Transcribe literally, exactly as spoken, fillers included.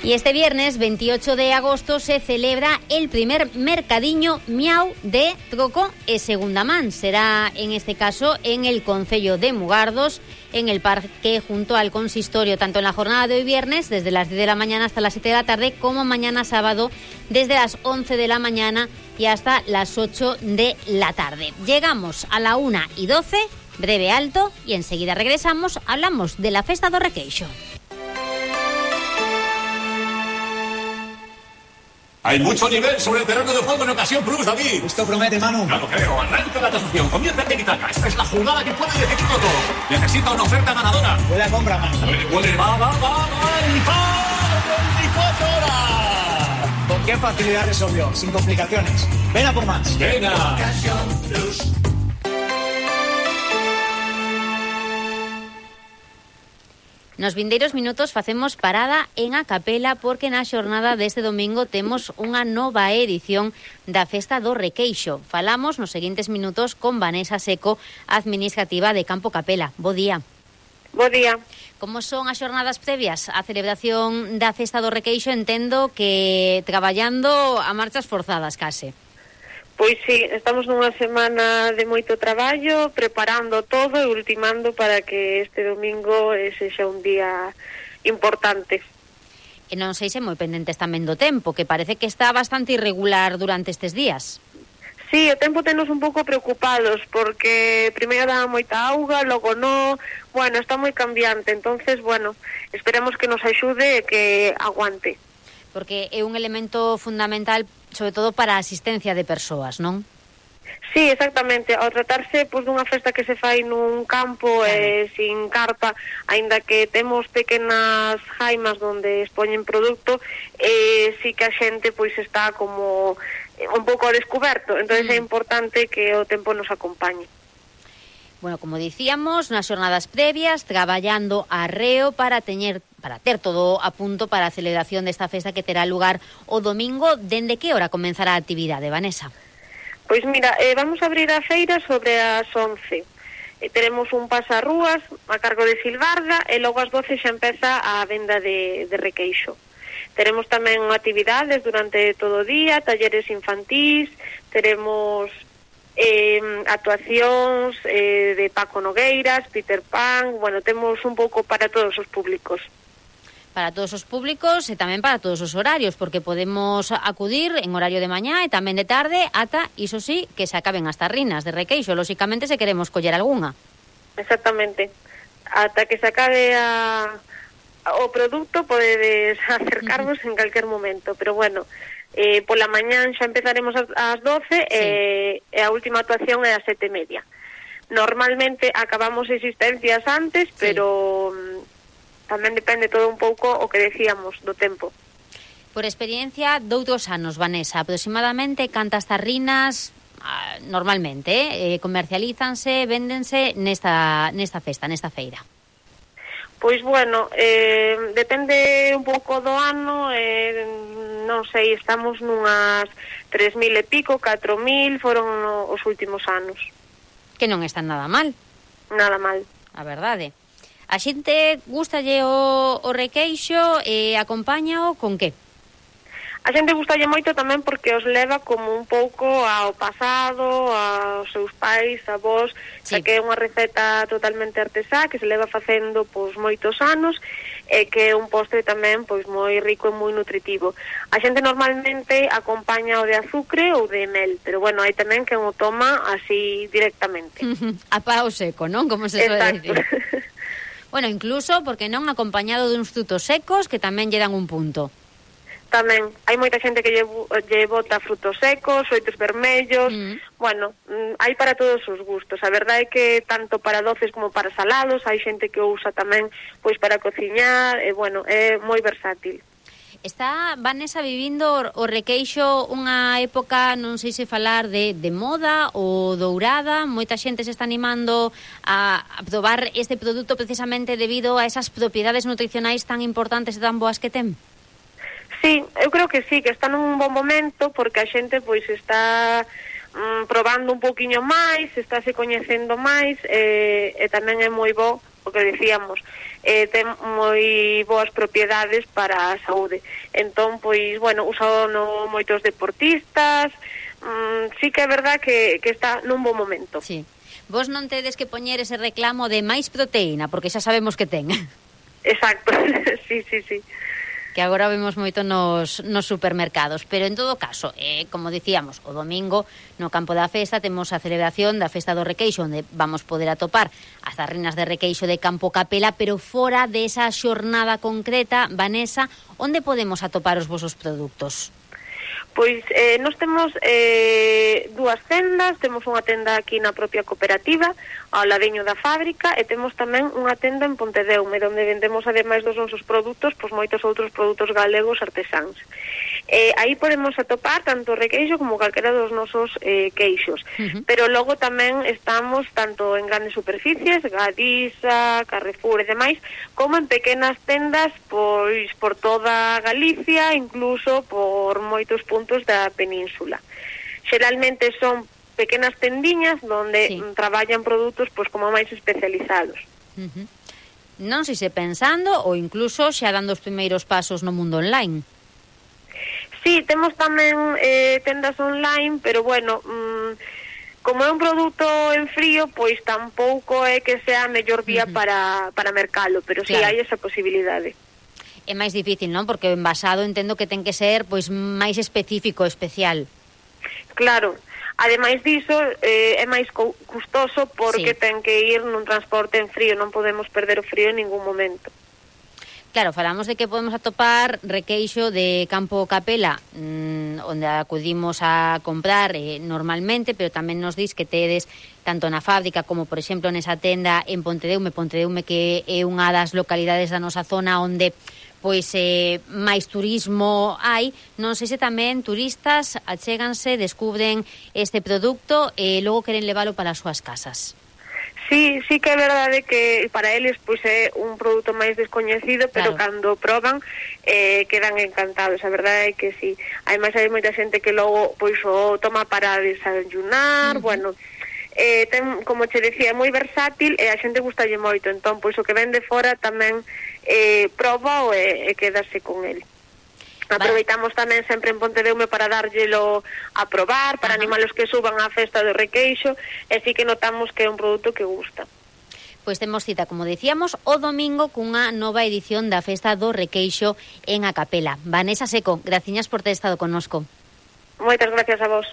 Y este viernes veintiocho de agosto se celebra el primer mercadiño miau de troco e segunda man. Será en este caso en el concello de Mugardos, en el parque junto al consistorio, tanto en la jornada de hoy viernes desde las diez de la mañana hasta las siete de la tarde, como mañana sábado desde las once de la mañana y hasta las ocho de la tarde. Llegamos a la una y doce, breve alto, y enseguida regresamos. Hablamos de la Festa do Requeixo. Hay mucho nivel sobre el terreno de juego en ocasión plus, David. Esto promete, Manu. Ya lo creo. Arranca la tasación. Comienza el tiki-taka. Esta es la jugada que puede decidir todo. Necesita una oferta ganadora. Puede compra, Manu. Puede, puede. Va, va, va, va. Y va. veinticuatro horas. ¿Con qué facilidad resolvió? Sin complicaciones. Ven a por más. Venga. Ocasión plus. Nos vindeiros minutos facemos parada en a capela porque na xornada deste domingo temos unha nova edición da Festa do Requeixo. Falamos nos seguintes minutos con Vanessa Seco, administrativa de Campo Capela. Bo día. Bo día. Como son as xornadas previas á celebración da Festa do Requeixo? Entendo que traballando a marchas forzadas case. Pois sí, estamos nunha semana de moito traballo, preparando todo e ultimando para que este domingo sexa un día importante. E non sei se moi pendentes tamén do tempo, que parece que está bastante irregular durante estes días. Sí, o tempo tenos un pouco preocupados, porque primeiro dá moita auga, logo no, bueno, está moi cambiante, entonces, bueno, esperemos que nos axude e que aguante. Porque é un elemento fundamental, sobre todo para a asistencia de persoas, non? Sí, exactamente. Ao tratarse pois, dunha festa que se fai nun campo claro. eh, sin carpa, aínda que temos pequenas jaimas onde expoñen produto, eh, sí que a xente pois está como eh, un pouco ao descoberto, entonces mm. é importante que o tempo nos acompañe. Bueno, como dicíamos, nas xornadas previas, traballando arreo para teñer para ter todo a punto para a celebración desta festa que terá lugar o domingo. Dende que hora comenzará a actividade, Vanessa? Pois mira, eh, vamos a abrir a feira sobre as once. Eh, teremos un pasarrúas a cargo de Silvarda e logo ás doce xa empeza a venda de, de requeixo. Teremos tamén actividades durante todo o día, talleres infantís, teremos eh, actuacións eh, de Paco Nogueiras, Peter Pan, bueno, temos un pouco para todos os públicos. Para todos os públicos e tamén para todos os horarios, porque podemos acudir en horario de mañá e tamén de tarde ata, iso sí, que se acaben as tarrinas de requeixo, lóxicamente se queremos coller algunha. Exactamente. Ata que se acabe a, a, o produto podedes acercarvos uh-huh. en calquer momento, pero bueno, eh, pola mañán xa empezaremos ás doce sí. e, e a última actuación é ás sete e media. Normalmente acabamos existencias antes, sí. pero tamén depende todo un pouco o que decíamos do tempo. Por experiencia doutros anos, Vanessa, aproximadamente cantas tarrinas ah, normalmente eh, comercialízanse, véndense nesta, nesta festa, nesta feira? Pois bueno, eh, depende un pouco do ano, eh, non sei, estamos nunhas tres mil e pico, catro mil, foron no, os últimos anos. Que non están nada mal. Nada mal. A verdade. A xente gustalle o, o requeixo e acompáñao con que? A xente gustalle moito tamén porque os leva como un pouco ao pasado, aos seus pais, avós, sí. que é unha receta totalmente artesá que se leva facendo pois moitos anos e que é un postre tamén pois moi rico e moi nutritivo. A xente normalmente acompaña o de azucre ou de mel, pero bueno, hai tamén que o toma así directamente. A pao seco, non? Como se suele decir. Bueno, incluso, porque non, acompañado de uns frutos secos que tamén lle dan un punto. Tamén, hai moita xente que lle, lle bota frutos secos, oitos vermellos, mm. bueno, hai para todos os gustos. A verdade é que tanto para doces como para salados, hai xente que o usa tamén pois para cociñar, e bueno, é moi versátil. Está, Vanessa, vivindo o requeixo unha época, non sei se falar de, de moda ou dourada. Moita xente se está animando a, a probar este produto precisamente debido a esas propiedades nutricionais tan importantes e tan boas que ten. Sí, eu creo que sí, que está nun bon momento porque a xente pois está mm, probando un pouquiño máis, está se coñecendo máis e, e tamén é moi bo o que decíamos, eh, ten moi boas propiedades para a saúde. Entón, pois, bueno, usado no moitos deportistas, mm, sí que é verdad que, que está nun bo momento. Sí. Vos non tedes que poñer ese reclamo de máis proteína, porque xa sabemos que ten. Exacto, sí, sí, sí. Que agora vemos moito nos, nos supermercados. Pero en todo caso, eh, como dicíamos, o domingo no campo da festa temos a celebración da Festa do Requeixo, onde vamos poder atopar as tarrinas de requeixo de Campo Capela, pero fora desa xornada concreta, Vanessa, onde podemos atopar os vosos produtos? Pois eh, nós temos eh, dúas tendas, temos unha tenda aquí na propia cooperativa, ao ladiño da fábrica, e temos tamén unha tenda en Pontedeume, onde vendemos, ademais dos nosos produtos, pois moitos outros produtos galegos artesáns. Eh, aí podemos atopar tanto o requeixo como calquera dos nosos eh, queixos, uh-huh. pero logo tamén estamos tanto en grandes superficies, Gadisa, Carrefour e demais, como en pequenas tendas pois por toda Galicia, incluso por moitos puntos da península. Xeralmente son pequenas tendiñas donde sí. traballan produtos pois como máis especializados. Uh-huh. Non sei se pensando ou incluso xa dando os primeiros pasos no mundo online. Sí, temos tamén eh, tendas online, pero bueno, mmm, como é un produto en frío, pois tampouco é que sea a mellor vía uh-huh. para, para mercalo, pero claro. sí hai esa posibilidade. É máis difícil, non? Porque o envasado entendo que ten que ser pois máis específico, especial. Claro. Ademais diso, eh, é máis custoso porque sí. ten que ir nun transporte en frío, non podemos perder o frío en ningún momento. Claro, falamos de que podemos atopar requeixo de Campo Capela, mmm, onde acudimos a comprar eh, normalmente, pero tamén nos dis que tedes tanto na fábrica como, por exemplo, nesa tenda en Pontedeume, Pontedeume que é unha das localidades da nosa zona onde pois eh, máis turismo hai. Non sei se tamén turistas achéganse, descubren este produto e logo queren leválo para as súas casas. Sí, sí que é verdade que para eles pois é un produto máis descoñecido, pero claro. cando proban eh, quedan encantados. A verdade é que sí. Ademais hai moita xente que logo pois o toma para desayunar, uh-huh. bueno, eh, ten, como che decía, é moi versátil e a xente gustalle moito. Entón, pois o que ven de fora tamén eh, proba e, e quedarse con el. Aproveitamos tamén sempre en Pontedeume para dárllelo a probar, para animar os que suban á festa do requeixo, e sí que notamos que é un produto que gusta. Pois temos cita, como decíamos, o domingo cunha nova edición da festa do requeixo en A Capela. Vanessa Seco, graciñas por ter estado connosco. Moitas gracias a vos.